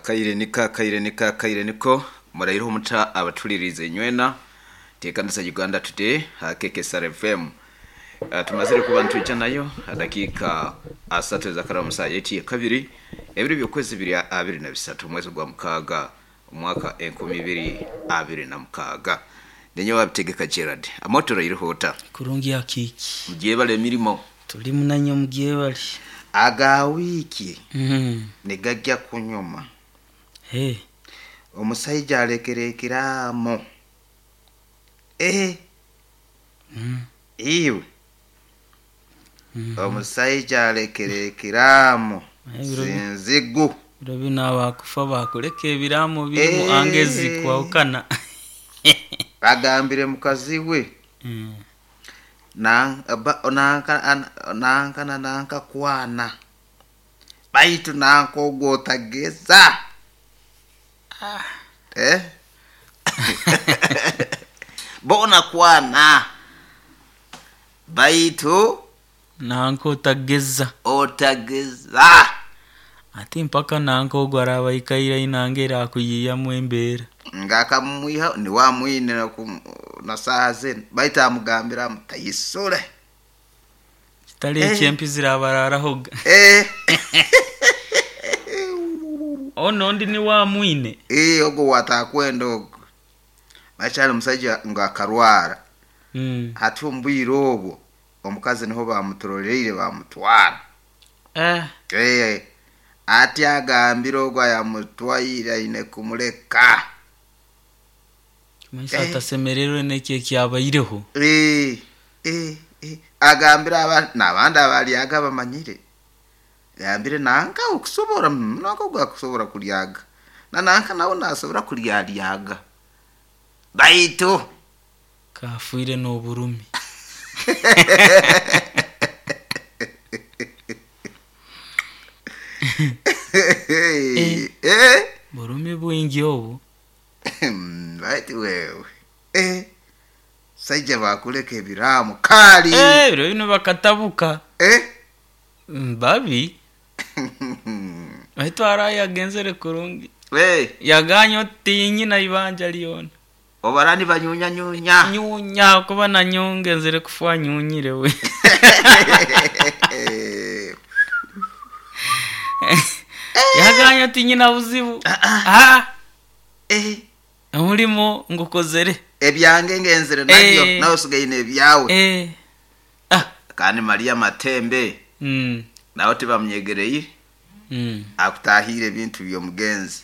Akaire niko akaire niko akaire niko muraireho omuta abatulirize nywena tekanisa Uganda Today ha KKSR FM. Tumazire kuba ntwija nayo dakika asatu zakara saa yeti kabiri ebiri byokwezi biri abiri na bisatu mwezi gwa mukaaga omwaka 2026. Nenye wabitegeka Gerard amotoro irihuta Kurungi ya kiki mugyebale emirimo tuli munanya mugyebale. Aga wiiki nigajja kunyuma. Hey. Omusajja alekera ekiraamo. Iwe omusajja alekera ekiraamo sinzigu. Biro bino abakufa bakuleka ebiraamo birimu angezi kwawukana. Agambire mukazi we nanka na nanka kwana baitu nanka ogwo otageza. Bona kwana baitu nanka otageza otageza ati mpaka nanka ogwo araba ikaira inanga erakuyiyamu embeera ngakamwiha niwamwine na saha zinu baitu amugambira mutayisule kitali ekyempi zirabararahoga. Ono ndi niwamwine ogwo watakwenda ogwo bakyali omusajja nga akarwara. Hati omu bwire obwo omukazi niho bamuturoleire bamutwara. Ati agambire ogwo ayamutwaire aine kumuleka. Maisha atasemererwe n'eki ekyabaireho. Agambire n'abandi abalyaga bamanyire. Agambire nanka okusobora nanka ogwo akusobora kulyaga. Na nanka nawe nasobora kulyalyaga. Baitu kafuire n'oburumi. Burumi bwingi obu. Baitu wewe. Saija bakuleka ebiraamo kali. Biro bino bakatabuka. Babi. Baitu araye agenzere kurungi. Yaganya otinyina ibanja lyona. Obarani banyunya nyunya. Nyunya kuba nanyongezere kufa nyunyire we. Yaganya tinyina buzibu. Omulimo ngukozere. Ebyange ngenzere nabyo nawe usigaye ebyawe. Kandi Maria Matembe. Nawe tibamnyegereye. Akutahire ebintu by'omugenzi.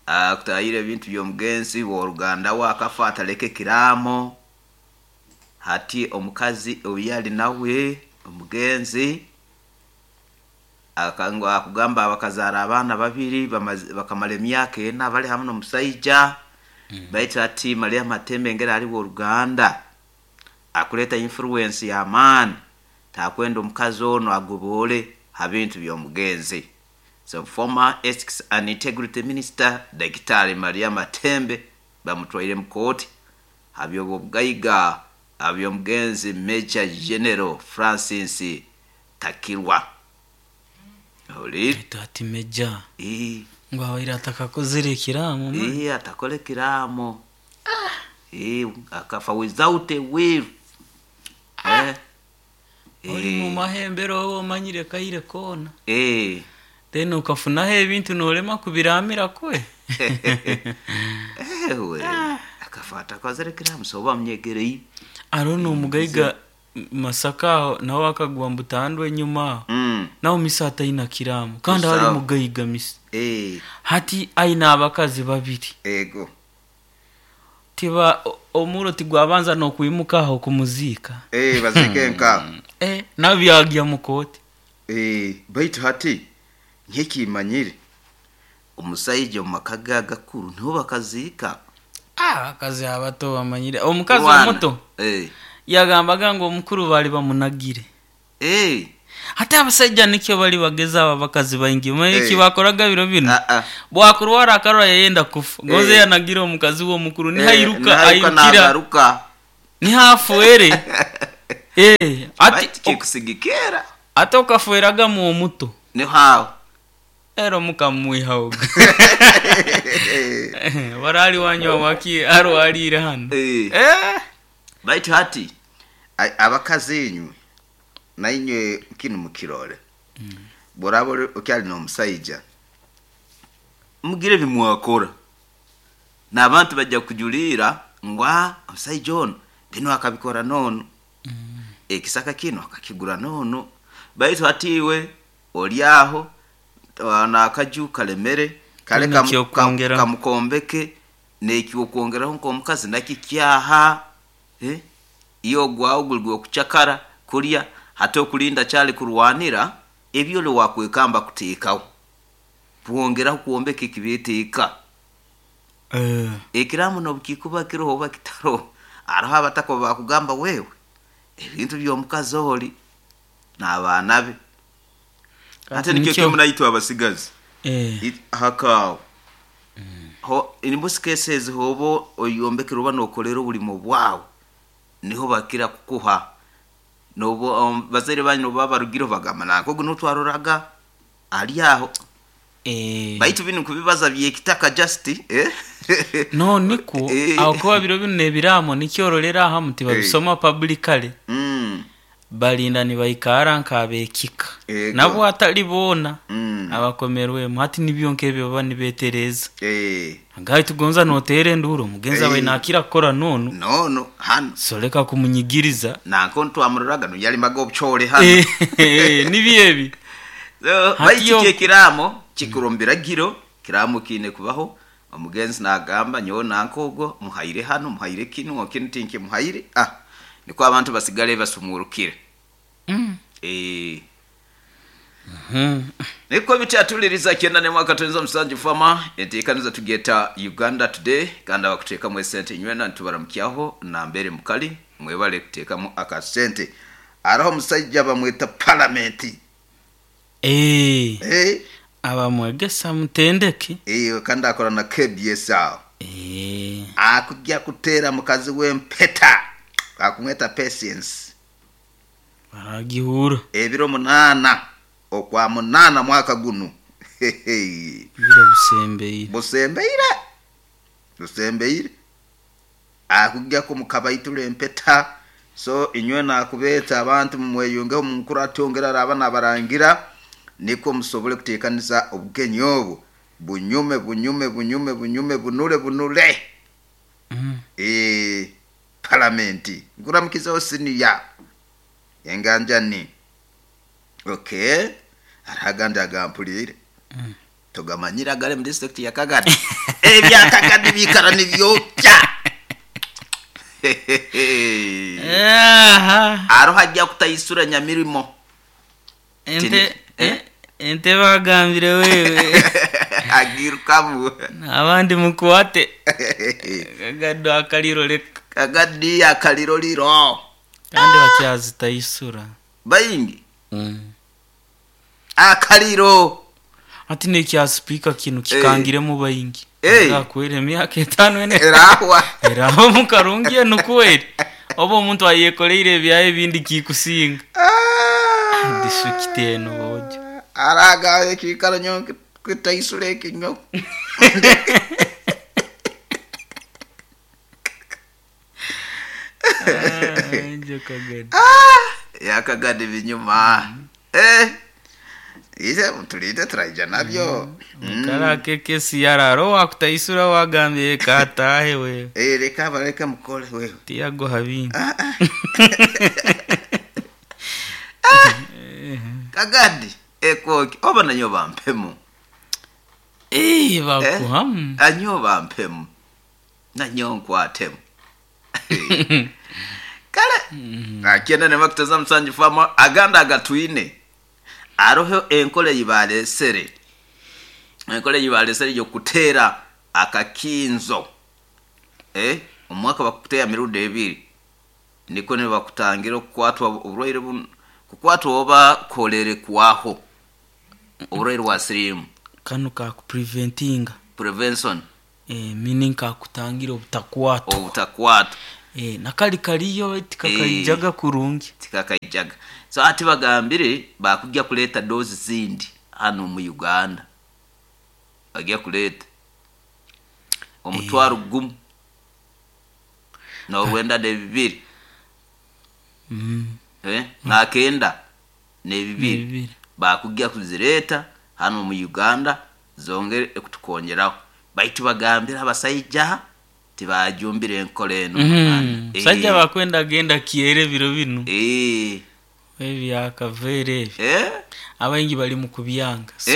Akutahire ebintu by'omugenzi w'oruganda wakafa ataleke kiramo. Hati omukazi oyali nawe omugenzi akangwa akugamba abakazara abaana babiri bakamala emyaka ena bali hamwe n'omusajja. Baitu ati Maria Matembe ngera ali w'oruganda akuleta influence ya maani takwenda omukazi ono agobole ha bintu by'omugenzi. So former Ethics and Integrity Minister Daktari Maria Matembe bamutwaire mu kooti haby'obugaiga aby'omugenzi Major General Francis Takirwa. Oli ati Major ngo abaire atakakozere ekiraamo. Atakole ekiraamo. Akafa without a will. Oli mu mahembero oba omanyire kaire koona. Then ukafunaho ebintu nolema kubiramira kwe. Akafa atakozere ekiraamo so bamnyegereye. Arono omugaiga Masaka nawe akagwa mbutandwe enyuma. Nawe misa ataina kiraamo kandi ali mugaiga misa. Hati aina abakazi babiri. Ego. Tiba omuro tigwabanza nokwimuka aho kumuzika. Bazike nka. Nabyagya mukoti. Baitu hati nkekimanyire omusajja omu maka ge agakuru niho bakazika. Abakazi abato bamanyire. Omukazi omuto yagambaga ngu omukuru bali bamunagire. Hati abasajja nikyo bali bageza aba bakazi baingi. Eki bakoraga biro bino. Bwakurwara akarora yayenda kufa. Goze yanagira omukazi w'omukuru nihairuka ayirukira. Nihafuere. Ati kikusigikera. Ate okafueraga mu omuto. Ni hawo. Era omukamwihaoga warali wanywa waki arwalire hano. Baitu hati abakazi inywe nainywe kinu mukirore. Boraba okyali n'omusaija, mugire bimwakora n'abantu bajja kujuliira ngu omusaija ono binu akabikora noonu, ekisaka kinu akakigura noonu. Baitu hati iwe oli aho n'akaju kalemere kale kamukombeke n'ekyokwongeraho nk'omukazi nakikyaha, iyo ogwawe guli gw'okucakara kulya hati okulinda kyali kurwanira ebyole wakwekamba kuteekaho bwongeraho kwombeka ekibeeta eka. Ekiraamo n'obukikuba kiroho oba kitaroho, haroho abataka obu bakugamba wewe ebintu by'omukazi oli n'abaana be. Ate nikyo kimu naitwe abasigazi hakaawo in most cases hoba oyombekere oba nokolera obulimo bwawe, niho bakira kukuha. Nobu bazaire banyu nobu baba barugireho bagamba nanka ogu nuwe twaroraga ali aho. Baitu binu nkubibaza by'ekitaka just. No nikwo aho kuba biro binu n'ebiraamo nikyo orolera ahamu tibabisoma publicly. Balinda nibaikara nk'ab'ekika nabo atali boona abakomerwemu. Hati nibyo nk'ebyo baba nibeetereeza. Ngai tugonza noteera enduuru omugenzi abaire naakira kukora noonu. Noonu hanu. So leka kumunyigiriza. Nanka onu twamuroraga nu yalimaga obucoole hanu. Nibyo ebi. Baitu kyo ekiraamo kikuru omu biragiro, ekiraamo kiine kubaho. Omugenzi naagamba nyowe nanka ogwo muhaire hanu, muhaire kinu, kinu tinkimuhaire. Nikwo abantu basigale basumurukire. Niko bityatuliriza kyenda n'emwaka twenza musanju fama enteekaniza tugyeta Uganda Today, kandi abakuteekamu esente nywena nitubaramukyaho nambere mukali mwebale kuteekamu akasente. Haroho omusaija bamweta palamenti. Abamwegesa mutendeke. Kandi akora na KBS aho. Akujja kuteera mukazi w'empeta akumweta Patience. Baragihura. Ebiro 8 okwa 8 mwaka gunu. Biro bisembeire. Busembeire. Busembeire. Akujja kumukabaitula empeta. So inywe nakubeeta abantu mumweyungeho munkuru atongera araba nabarangira nikwo musobole kuteekaniza obugenyi obu bunyume bunyume bunyume bunyume bunule bunule. Palamenti nkuramukizaho siniya enganjani. Okay, hariho agandi agampuriire togamanyire agari mu district ya Kagadi. Ebya Kagadi biikara nibyokya. Hariho ajja kutaisura nyamirimo. Ente bagambire wewe. Agirukamu. Abandi mukwate. Kagadi akaliro leka. Kagadi akaliro liro. Kandi bakyazitaisura. Baingi. Akaliro. Ati nekya speaker kinu kikangiremu baingi. Kwera emyaka 5 ene. Erahwa. Erahwa mukarungi enukweri. Oba omuntu ayekoleire ebyaye ebindi kikusinga. Disukite eno bojo. Araga ekikaro nyo kutaisura ekinyo. Yakagadi binyuma. Ije tulinde turaija nabyo. Kara keke siyararo wakutaisura wagambye katahe we. Reka bareka mukole wewe. Tiago habingi. Kagadi ekoki oba nanyo bampemu. Bakuhamu. Anyo bampemu. Nanyo nkwatemu. Kale akienda ne makutaza musanju fama aganda agatwine. Aroho enkole yibalesere. Enkole yibalesere yo kutera akakinzo. Omwaka bakuteya mirundi ebiri. Niko ne bakutangira okukwatwa oburwaire kukwatwa oba kolere kwaho. Oburwaire bwa sirimu. Kano ka kupreventinga. Prevention. Meaning ka kutangira obutakwatwa. Obutakwatwa. Nakali kaliyo tikakaijaga kurungi. Tikakaijaga. So ati bagambire bakujja kuleta dozi zindi hano mu Uganda. Bagya kuleeta 1,000 92. 92. Bibiri. Bakugya kuzireeta hano mu Uganda zongere kutukongeraho, baitu bagambira abasaija tibajumbire enkora eno. Musajja bakwenda genda kyere biro binu. Ebyakavere ebi. Abaingi bali mu kubyanga. So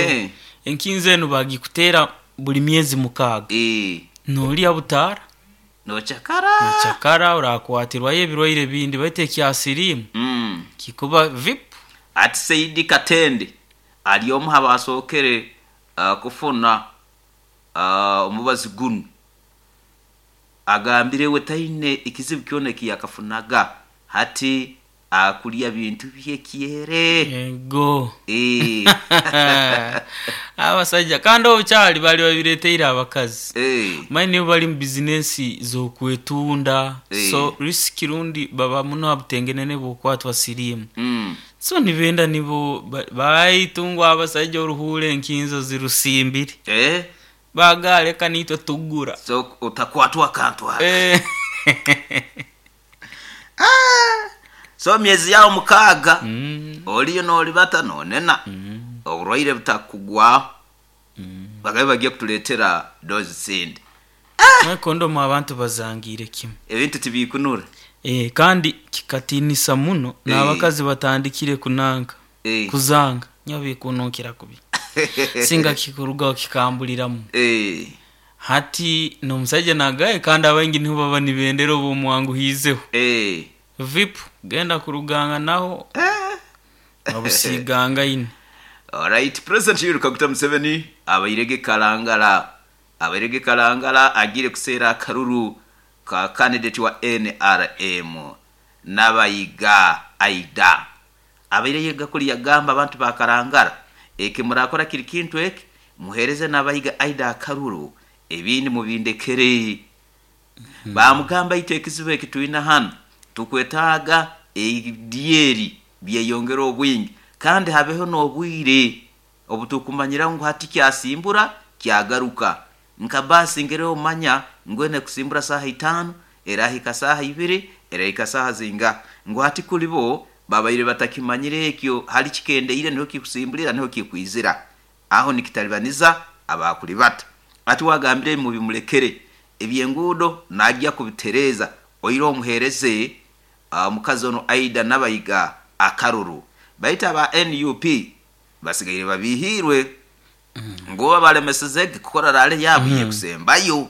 enkinzo enu bagikutera buli myezi 6. Nolya butara. Nochakara. Nochakara orakwatirwayo ebirwaire bindi baitu ekyasirimu. Kikuba vip. Ati Saidi Katende ali omu abasookere kufuna omubazi gunu, agambire we taine ekizibu kyona ekiyakafunaga, hati akulya bintu byekyere. Ego. Abasajja kandi obukyali bali babireteire abakazi. Manyi nibo bali mu bizinesi z'okwetunda. So risk rundi baba muno abutengenene bw'okwatwa sirimu. So nibenda nibo baitungwa abasajja oruhure enkinzo zirusimbire. Bagaleka nitwe tugura. So utakwatwa akantu aka. So myezi yao 6 oliyo nolibata nonena. Oburwaire butakugwaho. Bagabe bagiye kutuleetera dozi zindi. Kondomu abantu bazangire kimwe. Ebintu tibikunura. Kandi kikatinisa muno n'abakazi batandikire kunanka. Kuzanga nyo bikununkira kubi. Singa kikurugaho kikambuliramu. Hati n'omusajja nagaye kandi abaingi niho baba nibendera obumwanguhizeho. Vip genda kuruganga naho. Abusiganga ine. Alright, President Yoweri Kaguta Museveni abairege Kalangala. Abairege Kalangala agire kuseera akaruru ka candidate wa NRM Nabayiga Aida. Abairege gakuli yagamba abantu ba Kalangala eke murakora kiri kintu eke muhereze Nabayiga Aida akaruru ebindi mubindekere. Bamugamba ite ekizibu eki tuina hano tukwetaaga edieri byeyongera obwingi kandi habeho n'obwire obutukumanyira ngu hati kyasimbura kyagaruka. Nka basi ngere omanya ngwene kusimbura saha 5 erahika saha 2 erahika saha zinga, ngu hati kulibo babaire batakimanyire ekyo hali kikendeire niho kikusimbulira niho kikwizira aho nikitalibaniza abakulibata. Ati wagambire mu bimulekere ebyengudo najya kubitereza oiro omuhereze mukazi ono Aida Nabayiga akaruru. Baita ba NUP basigaire babihirwe ngo babalemesezege kukora rale yabo yekusembayo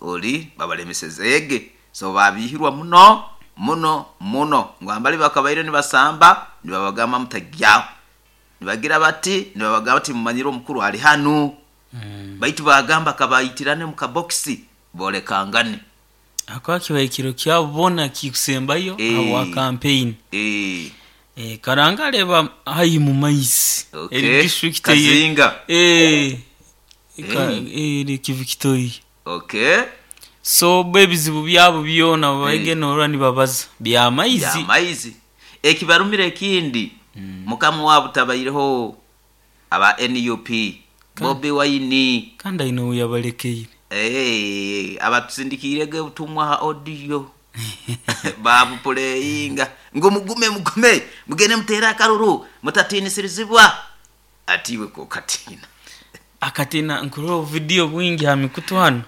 oli babalemesezege, so babihirwa muno muno muno ngo ambali bakabaire nibasamba nibabagamba mutagyaho nibagira bati nibabagamba bati mumanyire omukuru ali hanu. Baitu bagamba kabayitirane mu kaboxi bolekangane. Akwa kibaikiro kyabona kikusembayo awa campaign. Karangale ba hayi mu maisi. Okay. District Kazinga. Eri kivikitoi. Okay. So bebizibu byabo byona bagenora nibabaza bya maizi. Bya maizi. Ekibarumire ekindi. Mukamu wabo tabaireho aba NUP Bobi Wine kandi aino yabalekeire. Abatusindikirege butumwa ha audio. Babu puleyinga ngo mugume mugume mugende mutera akaruru mutatinisirizibwa. Atiwe ko katina. Akatina nkuro video bwingi ha mikutu hano.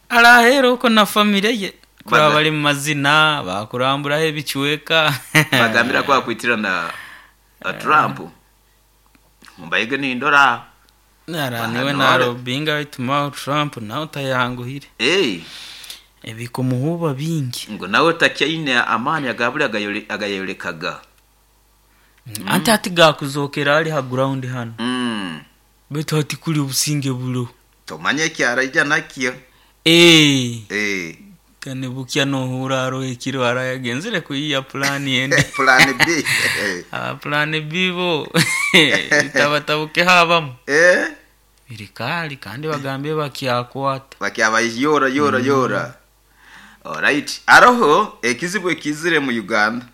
Arahero ko na family ye kuri bari mu mazina bakurambura he bicuweka. Bagambira kwa kwitira na Trump. Mbayige ni ndora. Nara niwe na Robinga bituma Trump nawe utayanguhire. Ebikumuhuba bingi. Ngo nawe takyaine amani agabuli agayolekaga. Ante ati gakuzokera ali ha ground hano. Betu ati kuli obusinge bulo. Tomanye kyaraija nakyo. Kane bukya no hura ro ekiro arayagenzere kuyiya plan yende. Plan B. Plan B bo. Itabatabuke habamu. Birikali kandi bagambye bakyakwata. Bakyabayora yora yora. Alright. Aroho ekizibu ekizire mu Uganda.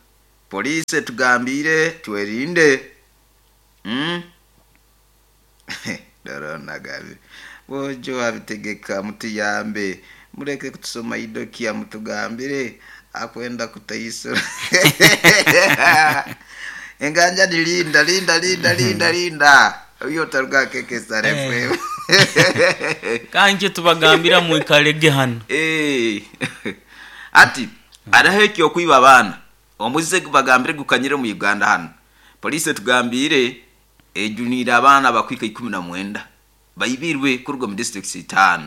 Police tugambire twerinde. Dara Nagambire bojo abitegeka, mutuyambe, mureke kutusoma idokia, mutugambire akwenda kutaisura enganja ni linda linda linda linda linda uyo taruga keke sare. Kanke tubagambira mwikalege hano. Ati araho ekyo kwiba abaana omuze bagambire gukanyire mu Uganda hano. Police tugambire ejunira abaana bakwika 19 baibirwe kuruga mu district 5.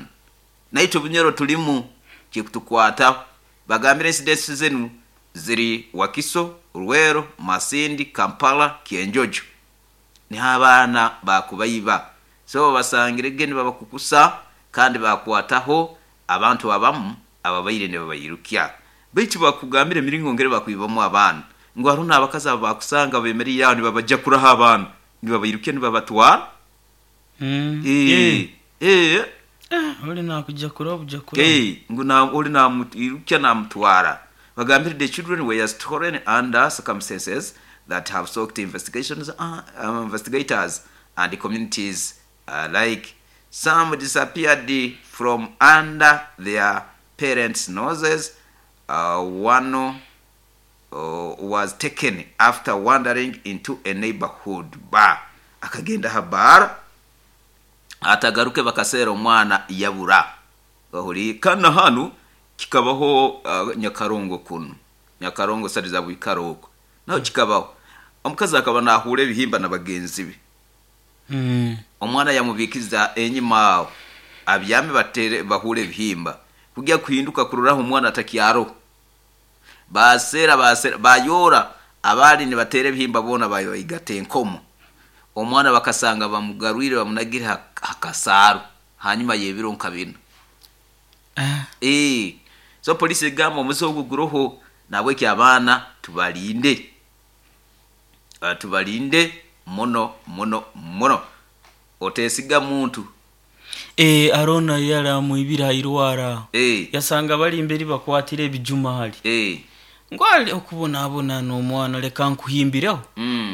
Naitwe Bunyoro tulimu kikutukwata. Bagambire incidents zenu ziri Wakiso, Rwero, Masindi, Kampala, Kienjojo. Ni abaana bakubaiba. So basangire geni babakukusa kandi bakwataho abantu abamu ababaire ne babayirukia. Baitu bakugambire miringo ngere bakwibamu abaana. Ngo haruna abakazi abo bakusanga bemereye aho nibabaja kuraha abaana. Nibabayirukia nibabatwara. Oli nakuja kuraha buja kuraha. Ngo na oli namuyirukia namutwara. Bagambire the children were stolen under circumstances that have sought investigations, investigators and the communities alike. Some disappeared from under their parents' noses. One was taken after wandering into a neighborhood bar. Akagenda habara atagaruke bakasera omwana yabura. Bahuri kana hanu kikabaho Nyakarongo kuno. Nyakarongo sari za Bwikaroko. Naho kikabaho. Omukazi akaba nahura ebihimba na bagenzi be. Omwana yamubikiza enyima aho. Abyame batere bahure ebihimba. Kujya kuhinduka kururaho omwana atakyaro. Basera basera bayora abali ni batere ebihimba bona bayoigate enkomo. Omwana bakasanga bamugarwire bamunagira hakasaro. Hanyuma yebiro nkabina. So police egamba omuze guroho nabweki abaana tubalinde. Tubalinde muno muno muno. Otesiga muntu. Arona yala muibira irwara. Yasanga bali imberi bakwatire ebijuma hali. Ngwali okubonabona n'omwana leka nkuhimbireho.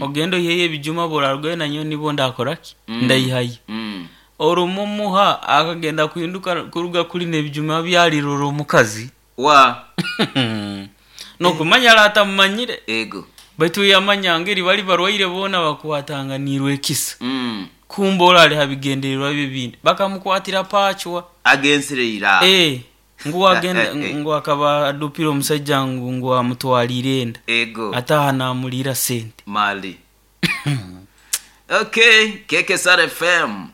Ogendo yeye ebijuma borarwe na nyo nibo ndakoraki. Ndayihaye. Orumumuha akagenda kuhinduka kuruga kuli n'ebijuma byaliroro omukazi. Wa no kumanya lata mumanyire. Ego. Baitu yamanya ngeri bali barwaire bona bakwatanganirwe ekisa. Kumbola ali habigendererwa bibindi. Bakamukwatira pachwa. Agensire ira. Ngu agenda ngu akaba adupira omusajja ngu amutwalire enda. Ego. Ataha namulira sente. Mali. Okay, Keke Sar FM.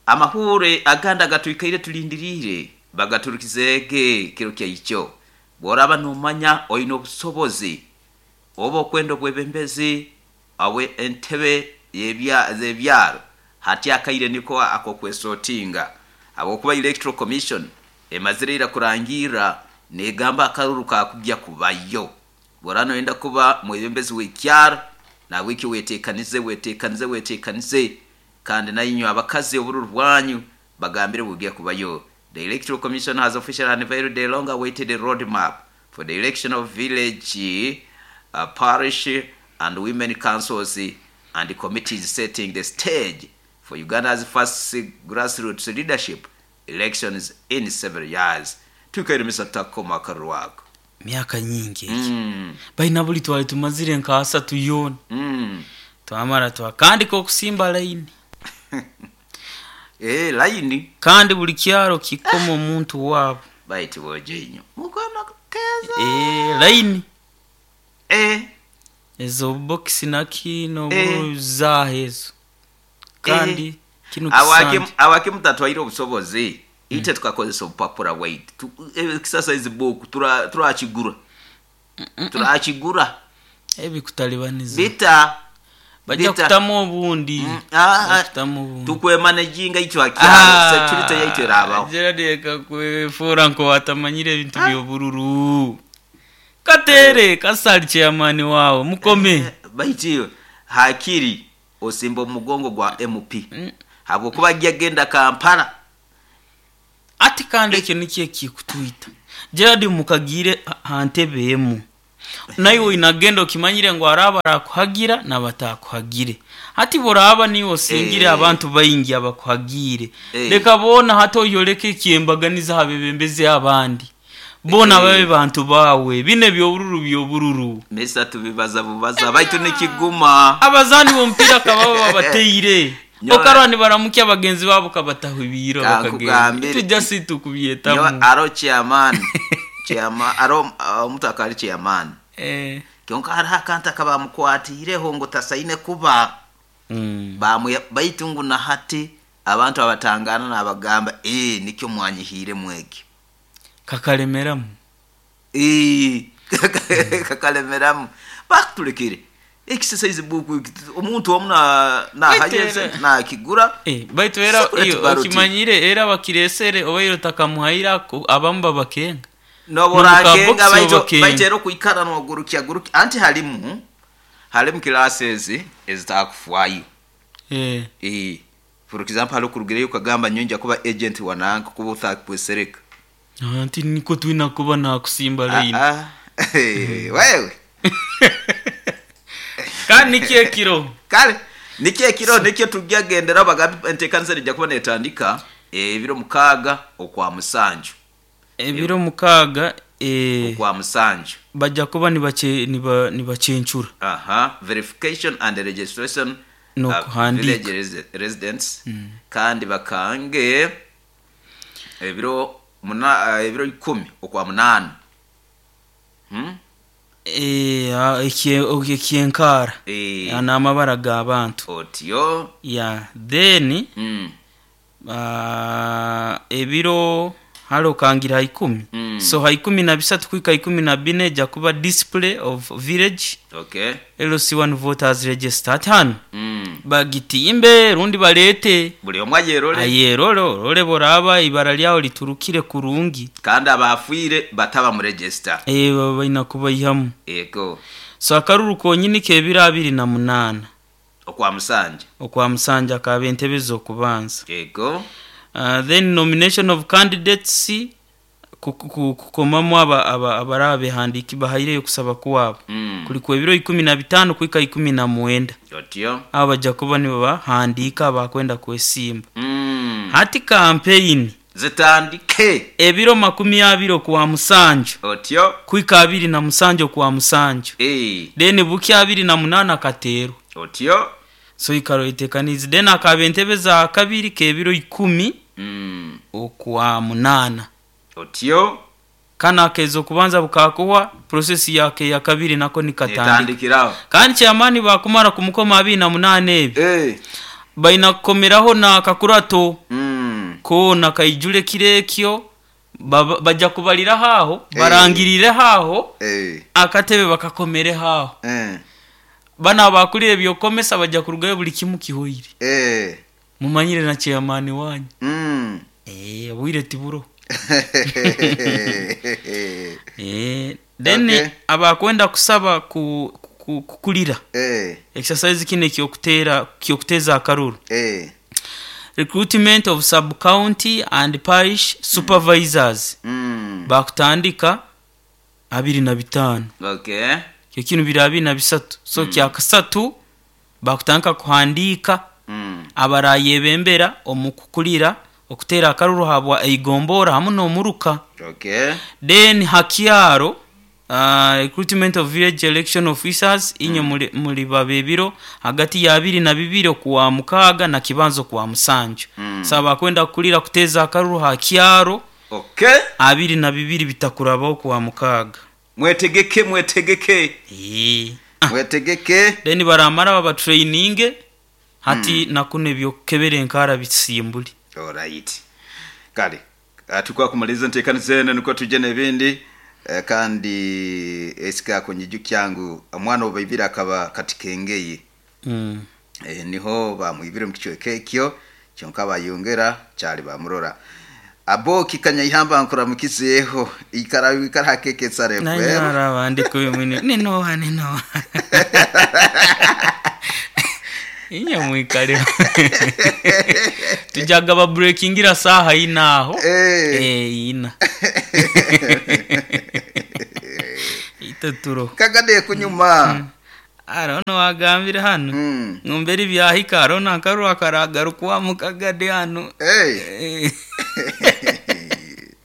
Amahure aganda gatuikaire tulindirire bagaturukizege kiro kya icho. Boraba nomanya oyino obusobozi oba okwenda obwebembezi awe entebe yebya zebyaro hati akaire niko akokwesotinga abokuba Electoral Commission emazirira kurangira negamba akaruru kakujya kubayo. Borano enda kuba mwebembezi w'ikyaro na wiki wetekanize wetekanize wetekanize kandi nayinywa abakazi obururu bwanyu bagambire bugiye kubayo. The Electoral Commission has officially unveiled the long awaited roadmap for the election of village, parish and women councils and committees, setting the stage for Uganda's first grassroots leadership elections in several years. Tukairemesa takoma karwako. Myaka nyingi eki. Baina buli twali tumazire nka asatu yona. Twamara twakandika okusimba line. Line. Kandi buli kyaro kikoma omuntu wabo. Baiti boje inyo. Mukona kuteza. Line. Ezo box na kino zahezo. Kandi kino kisanje. Awake mutatwaire obusobozi. Ite tukakozesa obupapura white. Kisasa izi book turakigura. Turakigura. Ebikutalibaniza. Bita. Bajja kutamu obundi. Kutamu obundi. Tukwemanejinga icho akyalo security yaitu erabaho. Gerard kakwefura nko atamanyire ebintu by'obururu. Katere kasali chairman wao mukome. Baitiyo hakiri osimba omugongo gwa MP. Habwokuba agenda Kampala. Ati kandi ekyo nikyo kikutwita. Gerard mukagire hantebe emu. Naiwe oinagenda okimanyire ngu hariho abarakuhagira n'abatakuhagire. Hati boraba niiwe osingire abantu baingi abakuhagiire, leka boona hati oyoleke ekyembaganiza ha bebembezi abandi. Boona babe bantu baawe. Binu eby'obururu by'obururu. Mesa tubibaza bubaza baitu nikiguma. Abazaani b'omupiira kababa babateire. Okarora nibaramukya bagenzi baabo kabataho ebiiro bakagenda. Kankugambire. Itwe just tukubyetamu. Nyowe aro chairman. Chairman aro omuntu akaba ari chairman. Kyonka hariho akantu akabamukwatiireho ngu tasaine kuba. Baitu ngu na hati abantu abatangana nabagamba, nikyo mwanyihiiremu ekyo. Kakalemeramu. Kakalemeramu. Bakutulekere. Exercise book omuntu omu nahayo sente nakigura. Baitu era okimanyire era bakiresere obaire otakamuhaire abamu babakenga. Noborakenga baitu era okuikara nogurukya gurukya anti harimu classes ezitakufwayo. For example hariho kurugireyo ukagamba nyonja kuba agent wa nanka kuba utakwesereka. Anti niko twina kuba nakusimba line. Wewe. Kandi nikyo ekiro. Kale nikyo ekiro nikyo tujyagendera bagambi entekanisa rijya kuba netandika ebiro 6 okwa 7. Ebiro 6 okwa 7. Bajja kuba nibachencura. Verification and registration no kuhandika village residents. Kandi bakange ebiro 10 okwa 8. Ekyenkara n'amabara g'abantu otyo ya then ebiro haro kangira 10. So 13 kuika 14 ejja kuba display of village. Okay. LC1 voters register hano. Bagitimbe rundi balete buli omwe ayerole. Ayerole orole boraba ibara lyawo liturukire kurungi. Kandi abafuire bataba mu register. Baina kubayihamu. Ego. So akaruru konyini kebiro 28. Okwa 7. Okwa 7 akaba entebe z'okubanza. Ego. Then nomination of candidates kukomamu abarabe handiki bahaireyo kusaba kwabo. Kuliko ebiro 15 kuika 19. Otyo. Abaja kuba nibo bahandika bakwenda kwesimba. Hati campaign zitandike ebiro 20 kwa 7. Otyo. Kuika 27 kwa 7. Then buki 28 katero. Otyo. So ikaro itekanizi then akaba entebe za kabiri kebiro 10 okwa 8. Otyo. Kana kezo kubanza bukakuwa process yake ya kabiri nako nikatandikiraho. Kandi kyamani bakumara kumukoma 28 ebi. Baina kukomeraho na kakurato. Ko na kaijule kirekyo bajja kubalira haho barangirire haho akatebe bakakomere haho. Bana bakulire byokomesa bajja kurugayo buli kimu kihoire. Mumanyire na chairman wanyu. Bwire tiburo. Then okay. Abakwenda kusaba kukulira. Exercise kine kyokutera kyokuteza akaruru. Recruitment of sub county and parish supervisors. Bakutandika 25. Okay. Kyo kinu bira 23. So kya kasatu bakutandika kuhandika abarayebembera omukukulira okutera akaruru habwa eigombora hamu n'omuruka. Okay. Then hakiaro recruitment of village election officers inye muri babebiro hagati ya 22 kuwa 6 na kibanzo kuwa 7. Saba kwenda kulira kuteza akaruru hakiaro. Okay. 22 bitakurabaho kuwa 6. Mwetegeke mwetegeke. Mwetegeke. Then baramara baba training hati nakune byokebere nkara bisimbuli. Alright. Kale tukwa kumaliza ntekanizene nuko tuje nebindi kandi esika konyiju kyangu omwana obaibira akaba katikengeye. Niho bamwibire mu kichweke ekyo kyonka bayongera cyali bamurora. Abo kikanya ihamba nkora mukizeho ikara ikara hakeketsa refu. Nanyara abandi kubimwine ninoha ninoha. Inya mwikale. Tujaga ba breakingira saha inaho. Ina. Teturo. Kagade kunyuma. Arono wagambire hano. Ngumberi byahika arona akarwa karagaruka kagade hano. Hey. Eh.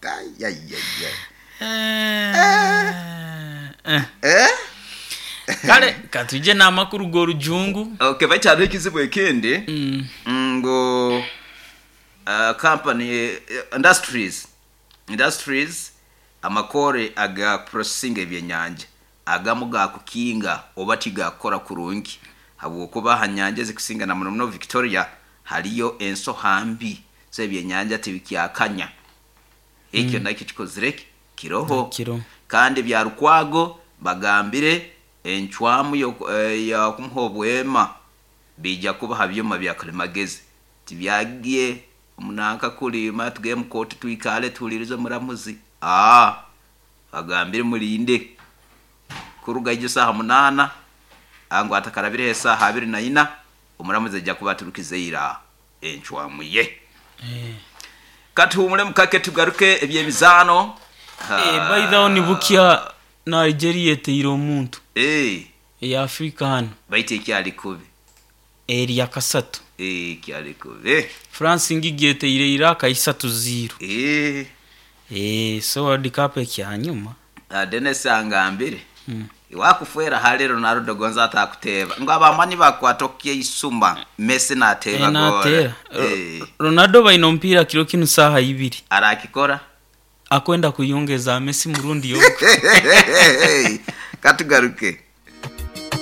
Ai, ai, ai, ai. Eh. Eh? Kale katuje n'amakuru g'orujungu. Okay, bakyaliho ekizibu ekindi ngo company industries amakore aga processing ebyenyanja agamu gakukinga oba tigakora kurungi habwokuba ha nyanja ezikusinga na muno muno Victoria haliyo ensoha mbi so ebyenyanja tibikyakanya ekyo nakyo kikozire kiroho. Kiro. Kandi bya Rukwago bagambire encwamu yakumuha obwema bijja kuba ha byuma bya kalimagezi tibyagiye munanka kulima tugeye mukoti twikale tuhulirize muramuzi bagambire mulinde kuruga ijo saha 8 angu atakarabire esaha 24 omuramuzi ajja kuba aturukize ira encwamu ye. Katuhumule mukake tugaruke ebyemizaano. By the way ni bukya Nigeria eteire omuntu eya Afrika hano. Baitu ekyali kubi eri ya kasatu. Ekyali kubi. France ngigi eteire Iraq 3-0. So World Cup ekyanyuma. Dennis angambire. Iwakufwera hali Ronaldo gonza atakuteba ngo abamani bakwatokye isumba Messi nateba gol. Ronaldo baina mpira kiro kinu saha 2 arakikora akwenda kuyongeza Messi murundi yo. Katugaruke.